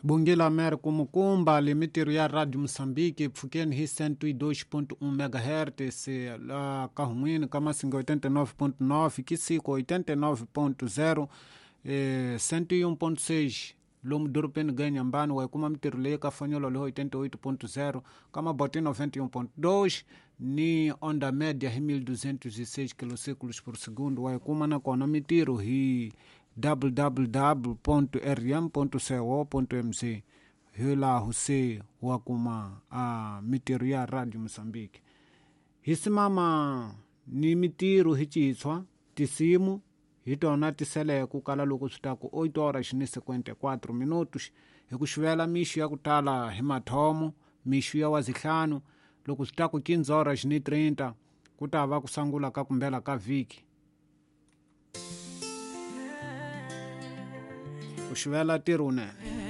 Bungila Mer kumukumba limitiro ya Radio Moçambique pfukeni hi 102.1 MHz la kahumwini ka Masinga 89.9 Kisiko 89.0 101.6 lomu dorobeni ga Inhambane wa kuma mitirho leyi ka fanyolo leho 88.0 ka Maboti 91.2 ni onda média hi 1206 kilociclos por segundo wa kuma nakona mitirho hi www.rm.co.mz hi laha se wa kuma a mitirho ya Radio Moçambique hi simama ni mitirho hi citshwa tisimu hi tona tisele ku kala loko swi ta ku 8 horas ni 54 minutos hi ku xivela mixo ya ku tala hi mathomo mixo ya wazihlanu loko swi ta ku 15 horas ni 30 ku ta va ku sangula ka kumbela ka vhiki ku xivela tirho unene.